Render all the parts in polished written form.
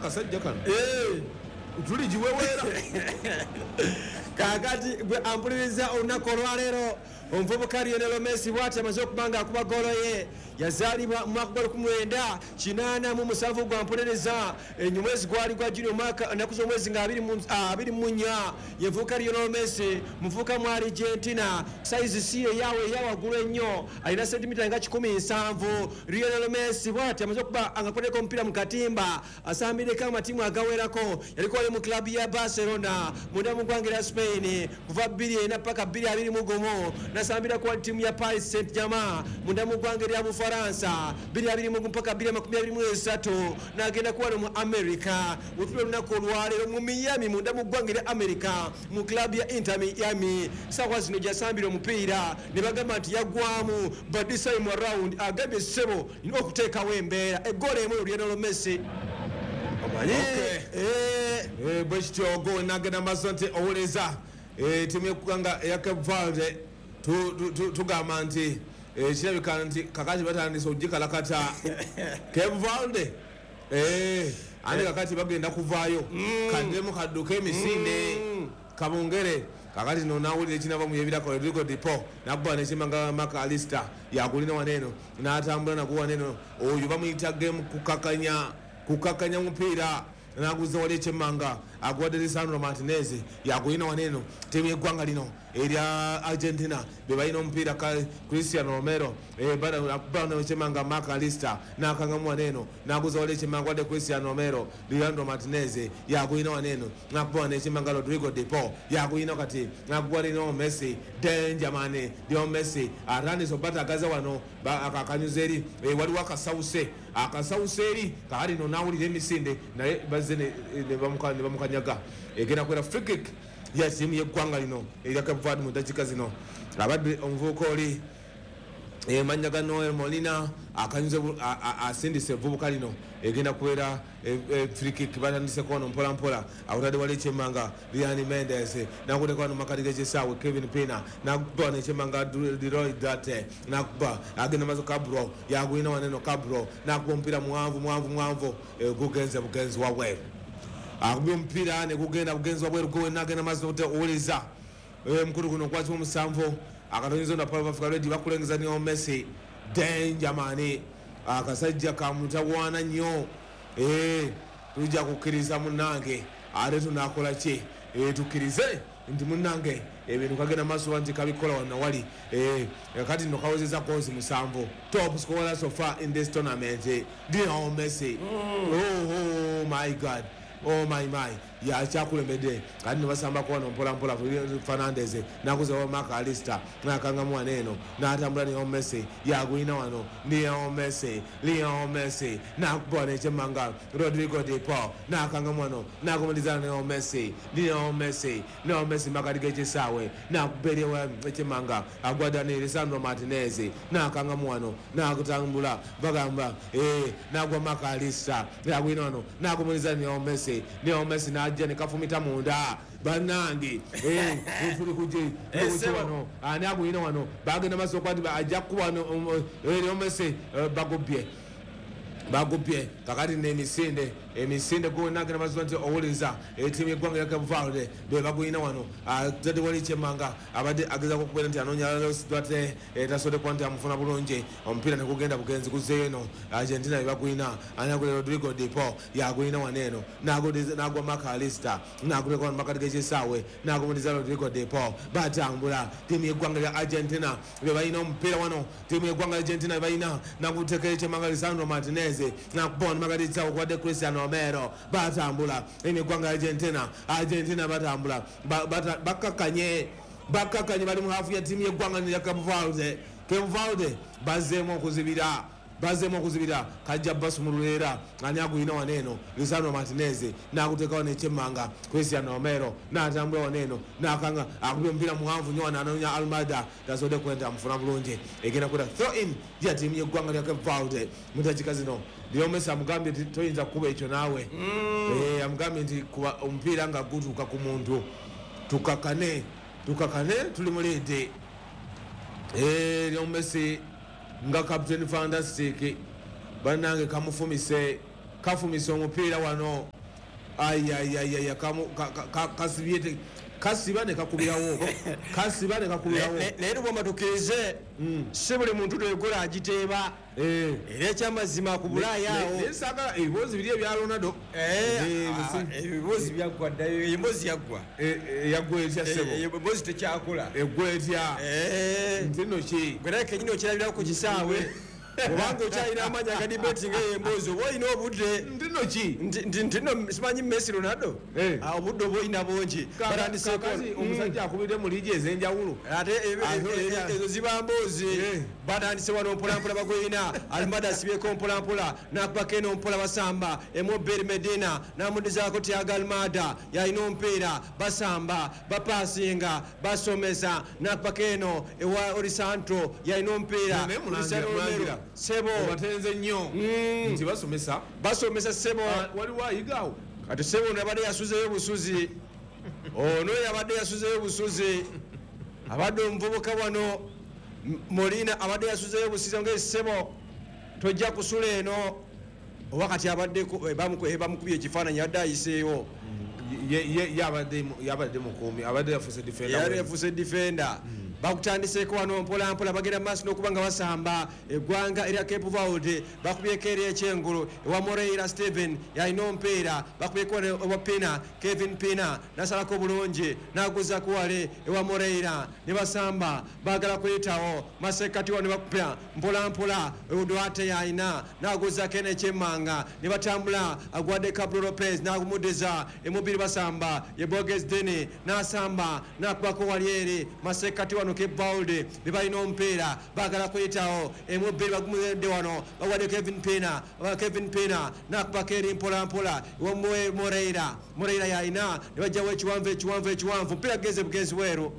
Akasajja kano tuli giweweera. Kakati gwe ampuliriza, olunaku olwaleero omuvubuka Lionel Messi bwati amaze okuba nga akuba golo ye. Yazaalibwa mu mwaka gwa 1987. Gwampuliriza, omwezi gwali gwa Juni, omwaka ennaku z'omwezi nga 24. Ye muvubuka Lionel Messi, muvubuka mu Argentina. Sayizi si eyawe eyawaggulu ennyo, alina sentimita nga 170. Lionel Messi bwati amaze okuba nga akoleko omupiira mu katimba, asambireko amatiimu agawerako. Yaliko ali mu club ya Barcelona munda mu ggwanga erya Spain kuva 24 paka 2021. Nasambira ku ttiimu ya Paris Saint Germain munda mu ggwanga erya Bufaransa 2021 paka 2023. N'agenda kuwano mu America. Wetuli olunaku olwaleero mu Miami, munda mu ggwanga erya America, mu club ya Inter Miami. Saawa zino gyasambira omupiira ne bagamba nti yaggwamu, but this time around agambye, "Ssebo, nina okuteekawo embeera." Eggolo emu, Lionel Messi, omanyi. Bwe kityo go nagenda maaso nti owuliriza ttiimu yeggwanga eya Cape Verde, tugamba nti kirabika nti kakati batandise okugikalakata Cape Verde. Ate kakati bagenda kuvaayo kaddemu kadduka emisinde kabongere. Kakati no nawulira ekinava mu yebirako. Rodrigo De Paul nakuba nekimanga Mac Allister yakulina waneeno n'atambula nago waneeno. Oyo bamuyita game kukakanya, kukakanya mupiira naguza wali ekyemmanga, aguwadde Lisandro Martinez, yagulina waneeno. Ttiimu yeggwanga lino erya Argentina be balina omupiira. Cristian Romero akuba ekyemmanga, Mac Allister nakangamu waneeno, naguza wali ekyemmanga, wadde Cristian Romero. Lisandro Martinez yagulina waneeno, nakuba wano ekyemmanga, Rodrigo De Paul yagulina kati, nakuba Lionel Messi. Danger man, Lionel Messi atandise obatagaza wano. Akakanyuza eri. Waliwo akasawuse, akasawuse eri. Kakati no nawulira emisinde, naye bazze ne bamukanyaga. Egenda kubeera free kick ya ttiimu yeggwanga lino erya Cape Verde. Mu dakiika zino abadde omuvubuka oli mannya ga Noel Molina akanyuze asindise evvubuka lino. Egenda kubeera free kick. Batandiseko wano mpola mpola, akutadde wali ekyemmanga Lian Mendes, nakuteka wano makati gekisaawe Kevin Pina, nakuba wano ekyemmanga Leroy Date, nakuba agenda mazo. Cabro yagulina waneno, Cabro nakuba omupiira muwanvu, muwanvu, muwanvu, gugenze bugenzi wabweru. Akubye omupiira ne gugenda bugenzi wabweru. Gwe nagenda maaso owuliriza mukulu guno gwaki 7 akatonyeza na Power Africa Radio bakulengeza Lionel Messi. Danger man, akasajja kamutawaana nnyo. Tujja kukkiriza munnange, ate tunakola ki? Tukkirize nti munnange ebintu kagenda maaso nti kabikola wano wali. Kati nno kawezeza goals 7, top scorer so far in this tournament, Lionel Messi. Oh my God, oh my my, yakyakulembedde. Kati nebasambako wano mpolampola. Fernandez nakuzawa Mac Allister, nakangamu wano eno, natambula. Lionel Messi yagulina wano, Lionel Messi, Lionel Messi nakuba wano ekyemmanga, Rodrigo De Paul nakangamu wano, nakumalizana Lionel Messi, Lionel Messi, Lionel Messi makati gekisaawe, nakuba eriwa ekyemmanga, agwa Daniel Lisandro Martinez, nakangamu wano, nakutambula, bagamba nagwa Mac Allister, yagulina wano, nakumalizana Lionel Messi, Lionel Messi najja nekafumita munda. Bannange, tuli kuje wano, ani agulina wano? Bagenda maaso okuba nti ajja kukuba wano Lionel Messi. Bagubye, bagubye. Kakati nemisinde, emisinde gonagenda maaso nti owuliriza etiimu yeggwanga ya Cape Verde be bagulina wano. Atadde wali kyemmanga, abadde agezako okubeera nti anoonya Duarte, tasobodde kuba nti amufuna bulungi. Omupiira negugenda bugenzi guzzeeyo eno. Argentina be bagulina. Anagula Rodrigo De Paul yagulina wano eno, nagwa Mac Allister, naguleka wano makati gekisaawe, nagumuliza Rodrigo De Paul. Batambula, tiimu yeggwanga lya Argentina be balina omupiira wano. Tiimu yeggwanga Argentina be balina, nagutekera ekyemmanga Lisandro Martinez, nakuba wano makati kisaawe okuwadde Cristian Romero. Batambula tiimu yeggwanga Argentina, Argentina batambula. Bakkakanye, bakkakanye, bali mu hafu ya tiimu yeggwanga lya Cape Verde. Cape Verde bazzeemu okuzibira, bazzeemu okuzibira. Kajja basumulula era ani agulina wano eno? Lisandro Martinez naguteeka wano ekyemmanga Cristian Romero, natambula wano eno, nakanga, akubye omupiira muwanvu nnyo wano, anoonya Almada, tasobodde kuba amufuna bulungi. Egenda kuda throw in ya tiimu yeggwanga lya Cape Verde mu dakiika zino. Lionel Messi amugambye nti toyinza kukuba ekyo naawe. Amugambye nti kuba omupiira nga gutuuka ku muntu. Tukakane, tukakane, tuli mu lead. Lionel Messi nga Captain Fantastic, bannange kamufumise. Kafumisa omupiira wano. Ayayayaya, kasibye, kasiba ne kakubirawo, kasiba ne kakubirawo. Naye lubwama tukkirize, si buli muntu twegola agiteeba. Era ekyamazima ku Bulaaya awo Naye saagala ebibuuzi biri ebya Ronaldo. Ebibuuzi byaggwa dda, emboozi yaggwa. Yaggwa etya, ssebo? Emboozi tekyakola. Eggwa etya? Nti nno ki? Gwe naye kenyini okirabirawo ku kisaawe, kubanga okyalina amaanyi aga debate nga eyo emboozi, oba olina obudde. Nti nno ki? Nti nno simanyi Messi, Ronaldo. Obudde oba olina bungi. Batandiseeko. Kakati omusajja akubidde mu liigi ez'enjawulo. Ate Ate ezo ziba mboozi. Batandise wano mpolampola, bagwina Almada asibyeko mpolampola, nakubako eno mpola, basamba emoberi Medina namudizaako Tiago Almada, yalina omupiira, basamba, bapasinga, basomesa, nakubako eno ewa Orisanto, yalina omupiira. Naye mulangira, Cristiano Romero. Mulangira. Sebo. Obatenze nnyo nti basomesa. Basomesa, sebo. Ah, waliwo ayigaawo. Kati sebo, ono yabadde yasuzeyo busuzi, ono yabadde yasuzeyo busuzi, abadde omuvubuka wano Molina abadde yasuzeyo busuzi nga sebo tojja kusula eno oba. Kati abadde bamukubye ekifaananyi, yadde ayiseewo. Ye yabadde mukuumi, abadde yafuuse defender. Yali yafuuse defender. Bakutandiseeko wano mpolampola, bagenda maaso n'okuba nga basamba. Eggwanga erya Cape Verde bakubyeko eri ekyengulu ewa Moreira Steven, yalina omupiira, bakubyeko wano ewa Pina, Kevin Pina nasalako bulungi naguzaku wale ewa Moreira, ne basamba, baagala kuyitawo masekati wano, ne bakupya mpolampola. Duarte yalina, naguzako eno ekyemmanga, ne batambula, agwadde Cabro Lopez, nagumudiza emubiri, basamba ye Boges Deni, nasamba nakubako wali eri masekati wano. Cape Verde be balina omupiira, baagala kuyitawo emubiri, bagumudde wano, bawadde Kevin Pina. Kevin Pina nakubako eri mpolampola ewa Moreira. Moreira yalina, ne bajjawo ekiwanvu, ekiwanvu, ekiwanvu, omupiira gugenze bugenzi bweru,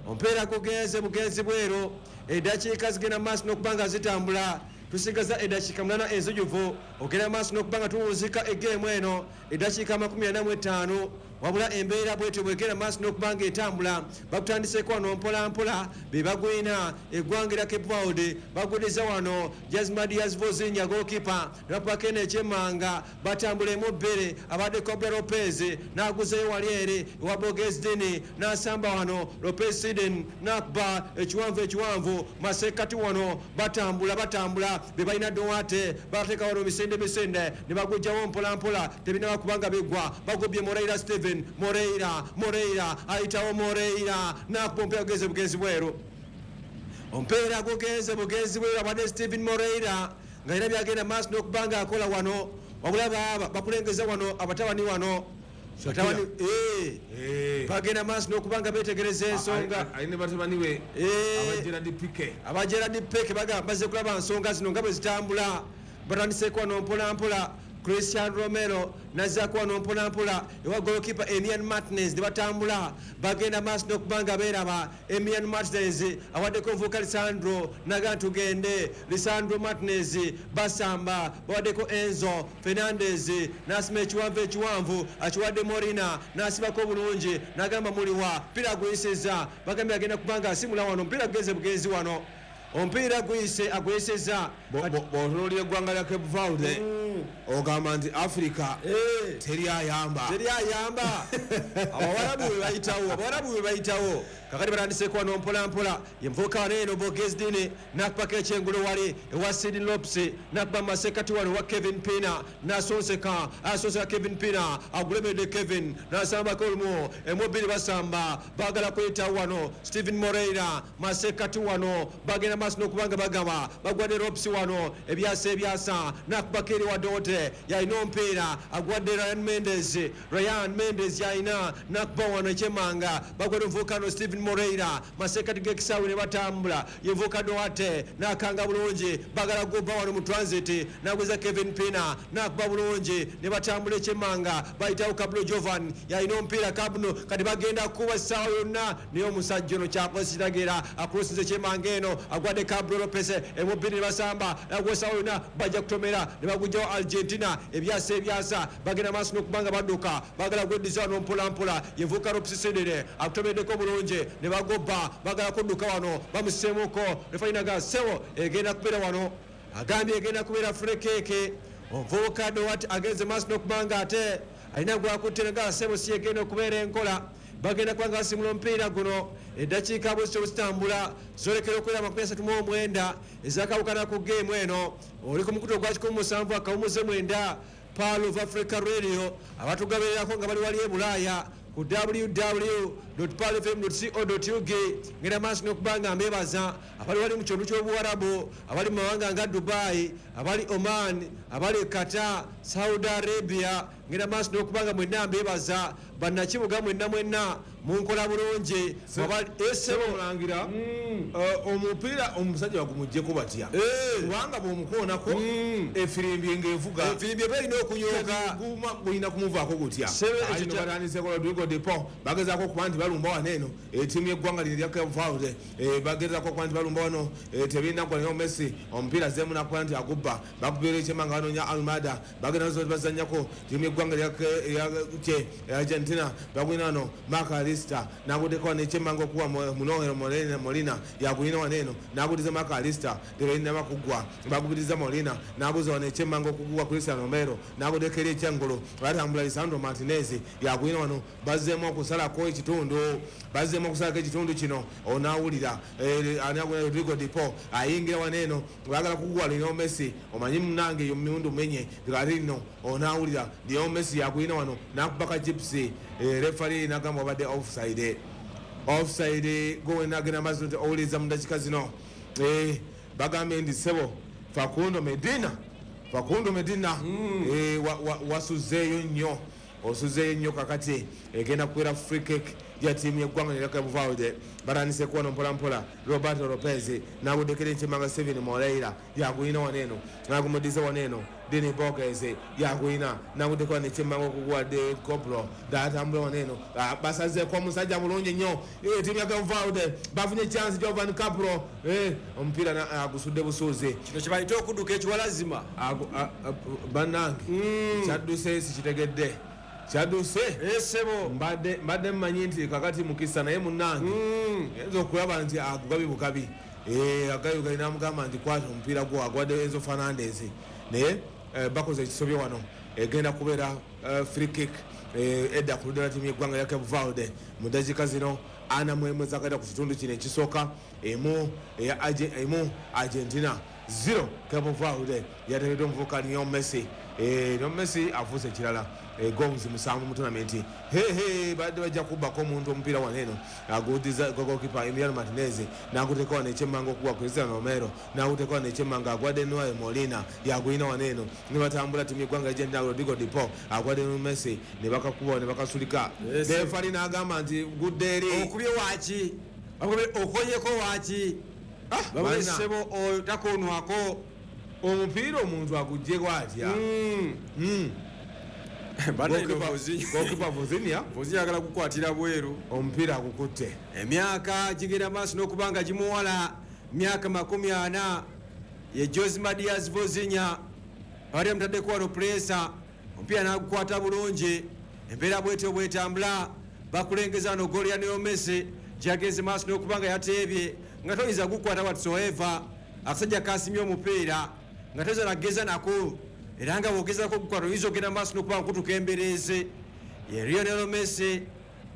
omupiira gugenze bugenzi bweru. Eddakiika zigenda maaso n'okuba nga zitambula, tusigaza eddakiika 8 enzijuvu ogenda maaso n'okuba nga tuwunzika egeemu eno, eddakiika 45. Wabula embeera bwetyo bwegenda maaso n'okuba nga etambula. Bakutandiseeko wano mpolampola, be bagwina eggwanga erya Cape Verde, bagudiza wano Jasmadias Vozinha, goalkeeper, ne bakubako eno ekyemmanga, batambula emu bbiri, abadde Cobra Lopez n'aguzeyo wali eri ewa Bogesdini, n'asamba wano Lopez Siden, n'akuba ekiwanvu, ekiwanvu masekati wano, batambula, batambula, be balina Duarte, bateeka wano misinde, misinde, ne bagujjawo mpolampola, tebinaba kubanga biggwa, bagubye Moreira Steven, Moreira, Moreira ayitawo, Moreira n'akuba omupiira, gugenze bugenzi bweru, omupiira gugenze bugenzi bweru. Abadde Steven Moreira nga era byagenda maaso n'okuba nga akola wano. Wabula baaba bakulengeza wano abatabani wano. Batabani, bagenda maaso n'okuba nga beetegereza ensonga. Alina batabani we aba Gerard Pique. Aba Gerard Pique bagamba bazze kulaba nsonga zino nga bwe zitambula. Batandiseeko wano mpolampola, Christian Romero nazzaako wano mpolampola ewa goalkeeper Emian Martinez, ne batambula, bagenda maaso n'okuba nga beeraba. Emian Martinez awaddeko nvuka Lisandro, naga tugende. Lisandro Martinez, basamba, bawaddeko Enzo Fernandez, nasima ekiwanvu, ekiwanvu akiwadde Morina, nasibako bulungi, nagamba muliwa mpira guyisiza, bagambye agenda kubanga asimula wano, omupiira gugenze bugenzi wano, omupiira guyise, aguyisiza. Bw'otunuulira eggwanga lya Cape Verde, ogamba nti Africa teri ayamba. Teri ayamba, abawarabu bwe bayitawo, abawarabu bwe bayitawo. Kakati batandiseeko wano mpolampola, yenvuka wano eno Bogesdini, nakubako ekyengulu wali ewa Sidney Lopes, nakuba masekati wano wa Kevin Pina, nasonseka, asonseka Kevin Pina, agulemedde Kevin, nasambako olumu emubiri, basamba, bagala kuyitawo wano Steven Moreira masekati wano, bagenda maaso n'okubanga bagaba, bagwadde Lopes wano, ebyasa, ebyasa, nakubako eri wa Dote, yalina omupiira, agwadde Ryan Mendes, Ryan Mendes yalina, nakuba wano ekyemanga, bagwadde omuvuka Steven Moreira masekati g'ekisaawe, ne batambula, yenvuka Duarte nakanga bulungi, bagala guba wano mu transit, nagwiza Kevin Pina, nakuba bulungi, ne batambula ekyemanga, bayitawo Cablo Jovan, yalina omupiira Cabno, kati bagenda kuba essaawa yonna, naye omusajja ono kyakoze kiragira, akulusinze ekyemanga eno, agwadde Cablo Lopez emubiri, ne basamba, agwa essaawa yonna bajja kutomera, ne bagugjawo Argentina, ebyasa, ebyasa, bagenda maaso n'okubanga badduka, bagala gweddiza wano mpolampola, yenvuka Lopes Sidere akutomeddeko bulungi, ne bagoba, bagala kudduka wano, bamuseemuko, refainaga sebo egenda kubeera wano, agambye egenda kubeera free kick. Omuvubuka Duarte agenze maaso n'okubanga ate alina gwakutte nga sebo si egenda okubeera enkola. Bagenda kubanga basimula omupiira guno. Eddakiika bwezityo bwezitambula zolekera okubeera 39 ezakawukana ku geemu eno. Oli ku mukutu ogwa 107.9 Pearl of Africa Radio, abatugabererako nga bali wali e Bulaaya ku www.pearlfm.co.ug. Ngenda maaso n'okuba nga mbebaza abali wali mu kitundu ky'Obuwarabu, abali mu mawanga nga Dubai, abali Oman, abali Qatar, Saudi Arabia. Ngenda maaso n'okuba nga mwenna mbebaza, bannakibuga mwenna mwenna munkola bulungi. Sebo Mulangira, omupiira omusajja bagumuggyeko batya? Kubanga bw'omukoonako efirimbi ng'evuga, efirimbi eba erina okunyooka, gulina kumuvaako gutya? Batandiseko Rodrigo de Paul, bagezaako okuba nti balumba wano eno ettiimu y'eggwanga lino erya Cape Verde, bagezaako okuba nti balumba wano, tebirina ggwa. Lionel Messi omupiira azzeemu n'akuba nti agubba, bakubira ekyemanga banoonya Almada, bagenda bazannyako ttiimu y'eggwanga erya Argentina, bagulina wano Mark Alista n'aguddeko wano ekyemanga okuwa Munohero Molina, yagulina wano eno n'agudiza Mark Alista, tebalina bakuggwa, bagubiriza Molina n'aguza wano ekyemanga okuguwa Cristian Romero n'aguddeko eri ekyengulu, batambula Lisandro Martinez yagulina wano, bazzeemu okusalako ekitundu, bazzeemu okusalako ekitundu kino. Onaawulira Rodrigo de Paul ayingira wano eno, baagala kuguwa Lionel Messi, omanyi munange eyo miwundu menye kati nno onaawulira Lionel Messi yagulina wano n'akuba ka gypsy, refari n'agamba wabadde offside, offside. Gwe agenda maaso nti owuliriza mu dakiika zino, bagambye nti ssebo Facundo Medina, Facundo Medina, wasuzeeyo nnyo, osuzeeyo nnyo. Kakati egenda kubeera free kick ya ttiimu y'eggwanga erya Cape Verde. Batandise kuwano mpolampola. Roberto Lopez n'aguddekera ekyemanga, Steven Moreira yagulina wano eno n'agumudiza wano eno, Dini Borges yagulina n'aguddeko wano ekyemanga okuguwa de Coplo, datambula wano eno, basazeeko omusajja bulungi nnyo. Ttiimu ya Cape Verde bafunye chance, Jovan Capro, omupiira agusudde busuuzi. Kino kyebayita okudduka ekiwalazima. Bannange, kyadduse sikitegedde, kyadduse. Esebo. Mbadde mmanyi nti kakati mukisa, naye munnange yinza okulaba nti agugabi bugabi, agabi bugabi, namugamba nti kwata omupiira gwo, agwadde Enzo Fernandez, naye bakoze ekisobyo wano. Egenda kubeera free kick edda ku ludda lwa ttiimu y'eggwanga lya Cape Verde mu dakiika zino 41 zakata ku kitundu kino ekisooka, 1 1 Argentina, 0 Cape Verde. Yateereddwa omuvubuka Lionel Messi. Lionel Messi afuuse ekirala, goals 7 mu tournament. Hehe, badde bajja kubbako omuntu omupiira wano eno, agudiza goalkeeper Emiliano Martinez n'aguteeka wano ekyemmanga okuwa Cristiano Romero, n'aguteeka wano ekyemmanga agwadde Noel Molina, yagulina wano eno ne batambula ttiimu y'eggwanga Argentina. Rodrigo de Paul agwadde Messi ne bakakuba ne bakasulika, refari n'agamba nti gudde eri. Okubye waaki? Okonyeko waaki? Babulesebo oyo takonwako. Omupiira omuntu aguggyeko atya? Goalkeeper Vozinha Vozinha agala kukwatira bweru. Omupiira agukutte. Emyaka gigenda maaso n'okuba nga gimuwala, myaka 40 ye Jose Madias Vozinha, abadde amutaddeko wano pressure, omupiira n'agukwata bulungi. Embeera bwetyo bwetambula, bakulengeza wano goolo ya Lionel Messi gyagenze maaso n'okuba nga yateebye nga toyinza gukwata whatsoever. Akasajja kasimye omupiira nga toyinza nageza nako, era nga bwogezako ogukwata oyinza ogenda maaso n'okuba nga kutuka embereeze. Ye Lionel Messi.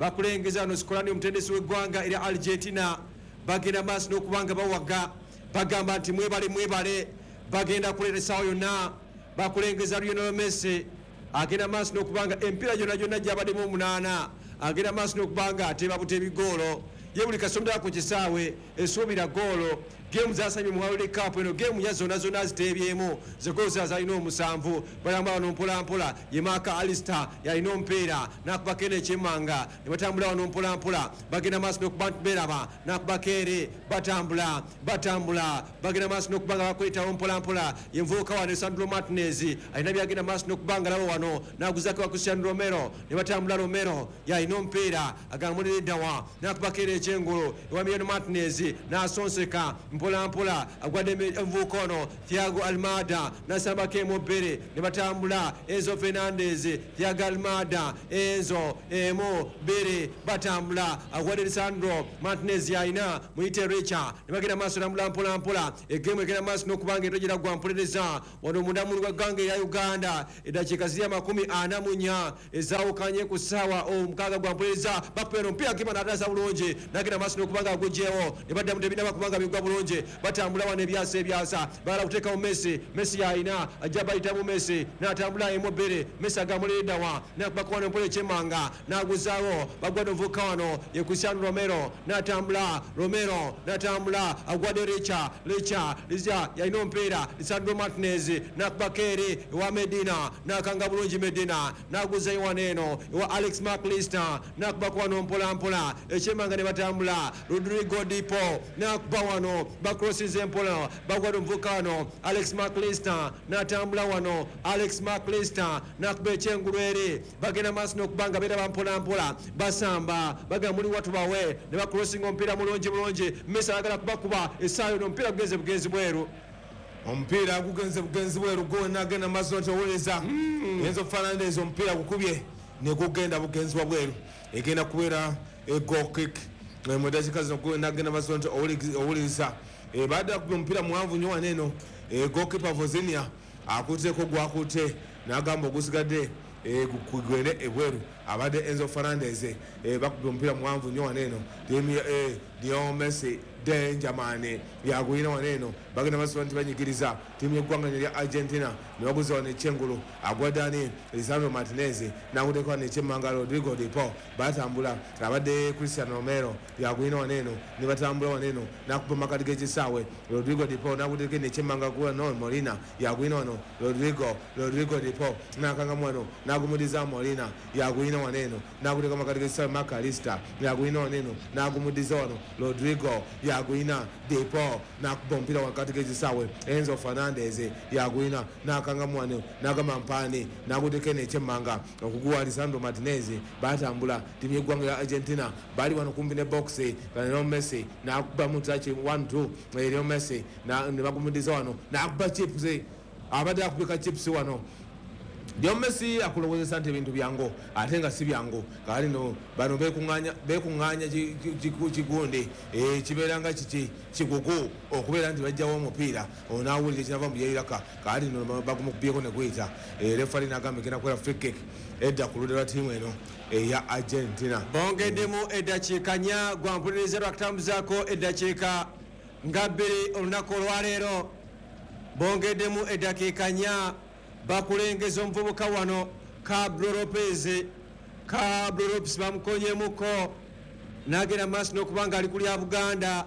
Bakulengeza wano Scaloni, omutendesi w'eggwanga erya Argentina, bagenda maaso n'okuba nga bawaga, bagamba nti mwebale, mwebale, bagenda kuleeta essaawa yonna. Bakulengeza Lionel Messi agenda maaso n'okuba nga emipiira gyonna gyonna gyabaddemu omunaana agenda maaso n'okuba nga ateeba buteebi goolo. Ye buli kasomera ku kisaawe esuubira goolo. Geemu zasambye mu World Cup eno, geemu ya zonna zonna aziteebyemu, ze goolo zalina omusanvu. Balamba wano mpolampola, ye Mark Alister yalina omupiira n'akubako eno ekyemmanga ne batambula wano mpolampola, bagenda maaso n'okuba nti beeraba n'akubako ere, batambula, batambula, bagenda maaso n'okuba nga bakwetawo mpolampola. Ye nvubuka wano Sandro Martinez alina byagenda maaso n'okuba nga laba wano n'aguzako wa Cristian Romero ne batambula. Romero yalina omupiira agamulira eddawa n'akubako ere ekyengulu ewa Emiliano Martinez n'asonseka. Mpola mpola agwadde omuvubuka ono Thiago Almada nasambako emu bbiri ne batambula. Enzo Fernandez, Thiago Almada, Enzo emu bbiri batambula, agwadde Lisandro Martinez yalina muyite Richa ne bagenda maaso tambula mpola mpola. Egemu egenda maaso n'okubanga etogira gwa mpolereza wano munda mu ggwanga erya Uganda. Eddakiika ziri 44 ezaawukanye ku ssaawa 6 gwa mpolereza. Bakuba omupiira kipa n'ataasa bulungi n'agenda maaso n'okubanga aguggyewo ne baddamu tebinaba kubanga bigwa bulungi. Batambula wano ebyasa ebyasa, bagala kuteekawo Messi. Messi yalina ajja bayitamu Messi n'atambula emu bbiri. Messi agamuleedawa n'akubako wano mpola ekyemanga n'aguzaawo. Bagwadde omuvubuka wano ye Cristiano Romero n'atambula, Romero n'atambula agwadde Richa, Richa Richa yalina omupiira Lisandro Martinez n'akubako eri ewa Medina n'akanga bulungi Medina n'aguzayo wano eno ewa Alex McAllister n'akubako wano mpola mpola ekyemanga ne batambula. Rodrigo Dipo n'akuba wano, bakrosize mpola, bagwadde omuvubuka wano Alex McAllister n'atambula wano, Alex McAllister n'akuba ekyengulu eri. Bagenda maaso n'okubanga beeraba mpola mpola, basamba bagamba muli watubawe ne bakrosinga omupiira mulungi bulungi. Messi ayagala kubakuba essaawa eno, omupiira gugenze bugenzi bweru. Omupiira gugenze bugenzi bweru gwonna agenda maaso nti owuliriza Enzo Fernandez omupiira gukubye ne gugenda bugenzi bwa bweru, egenda kubeera goal kick mu dakiika zino. Gwonna agenda maaso nti owuliriza badde akubye omupiira muwanvu nnyo wano eno. Goalkeeper Vozinha akutteko gwakutte n'agamba ogusigadde gugende ebweru. Abadde Enzo Fernandez bakubye omupiira muwanvu nnyo wano eno. Lionel Messi danger man yagwina wano eno. Bagenda maaso nti banyigiriza ttiimu y'eggwanga lya Argentina ne baguza wano ekyengulu agwadani Lisandro Martinez n'aguddeko wano ekyemmanga Rodrigo De Paul. Batambula abadde Cristiano Romero yagwina wano eno ne batambula wano eno n'akuba makati g'ekisaawe Rodrigo De Paul n'aguddeko eno ekyemmanga no Molina yagwina wano Rodrigo De Paul n'akangamu wano n'agumudiza Molina yagwina wano eno n'aguddeko makati g'ekisaawe McAllister yagwina wano eno n'agumudiza wano Rodrigo yagwina De Paul n'akuba omupiira wakati g'ekisaawe Enzo Fernandez yagwina n'akangamu wano n'agamba mpaani n'aguddeko eno ekyemmanga okuguwa Lisandro Martinez. Batambula ttiimu y'eggwanga lya Argentina bali wano kumpi ne box. Lionel Messi n'akuba mutaki 1-2 Lionel Messi ne bagumudiza wano n'akuba chips, abadde akubika chips wano. Lionel Messi akulowoozesa nti ebintu byangu ate nga si byangu. Kale no bano beekuŋŋaanya kigundi kibeera nga kiki kigugu okubeera nti bajjawo omupiira onaawulira ekinava mu byeyiraka. Kale no bagumukubyeko ne guyita. Refari n'agamba egenda kukola free kick edda ku ludda lwa ttiimu eno eya Argentina. Bongeddemu eddakiika 4 gwa mpuliriza lwakutambuzaako eddakiika nga 2 olunaku olwaleero. Bongeddemu eddakiika 4 bakulengeza omuvubuka wano Pablo Lopez. Pablo Lopez bamukonyemuko n'agenda maaso n'okubanga ali kulya Buganda.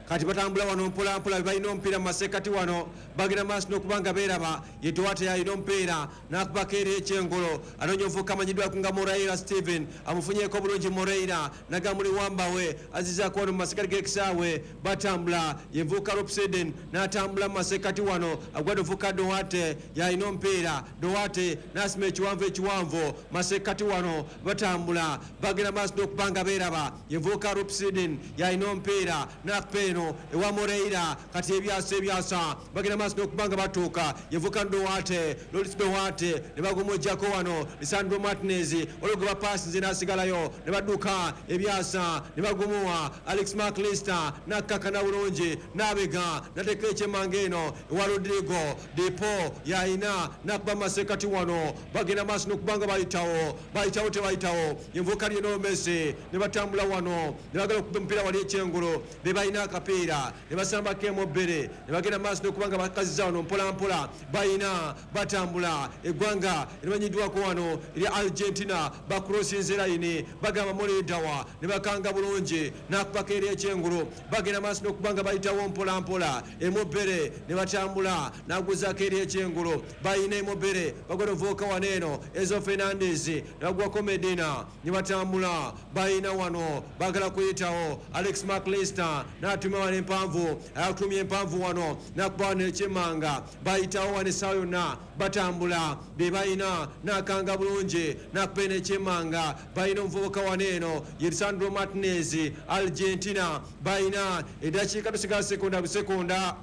Kati batambula wano mpola mpola, balina omupiira mu masekkati wano, bagenda maaso n'okubanga beeraba. Ye Duarte yalina omupiira n'akubako eri ekyengolo, anoonya omuvubuka amanyiddwako nga Moreira Steven, amufunyeeko bulungi Moreira n'agamuli wambawe azizzaako wano mu masekkati g'ekisaawe. Batambula ye nvubuka Lopseden n'atambula mu masekkati wano, agwadde omuvubuka Duarte yalina omupiira. Duarte n'asima ekiwanvu ekiwanvu masekkati wano, batambula bagenda maaso n'okubanga beeraba. Ye nvubuka Lopseden yalina omupiira n'akupa eno ewa Moreira. Kati ebyasa ebyasa bagenda maaso n'okubanga batuuka. Yevuka Duarte, Loris Duarte ne bagumujjako wano Lisandro Martinez olwo gwe bapasinze n'asigalayo ne badduka ebyasa ne bagumuwa Alex McAllister n'akkakana bulungi n'abega n'ateeka ekyemmanga eno ewa Rodrigo De Paul yalina n'akuba mu masekkati wano. Bagenda maaso n'okubanga bayitawo bayitawo tebayitawo. Yenvuka Lionel Messi ne batambula wano ne bagala okuba omupiira wali ekyengulu be balina akapiira ne basambako emu bbiri ne bagenda maaso n'okubanga bakazizza wano mpola mpola. Balina batambula eggwanga erimanyiddwako wano erya Argentina bakrosinze layini bagamba mulidawa ne bakanga bulungi n'akubako eri ekyengulu. Bagenda maaso n'okubanga bayitawo mpola mpola emu bbiri ne batambula n'aguzaako eri ekyengulu. Balina emu bbiri bagwada ovuuka wano eno Enzo Fernandez ne bagwako Medina ne batambula. Balina wano bagala kuyitawo Alex McAllister n'atuma Atuma wano empanvu, atumye empanvu wano, nakuba wano ekyemanga. Bayitawo wano essaawa yonna, batambula be balina, nakanga bulungi, nakuba eno ekyemanga. Balina omuvubuka wano eno ye Lisandro Martinez, Argentina. Balina eddakiika, tusigala sekonda busekonda,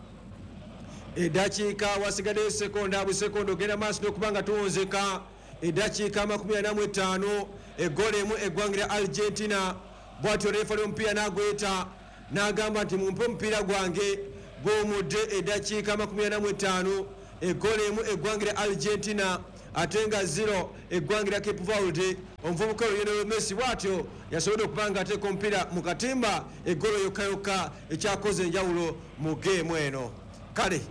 eddakiika wasigaddeyo sekonda busekonda. Ogenda maaso n'okuba nga tuwunzika eddakiika 45, eggolo emu eggwanga lya Argentina. Bwatyo refa omupiira n'agweta n'agamba nti mumpe omupiira gwange gwomudde. Eddakiika 45, eggolo emu eggwanga lya Argentina, ate nga 0 eggwanga lya Cape Verde. Omuvubuka Lionel Messi bwatyo yasobodde okuba nga ateeka omupiira mu katimba, eggolo yokka yokka ekyakoze enjawulo mu geemu eno. Kale.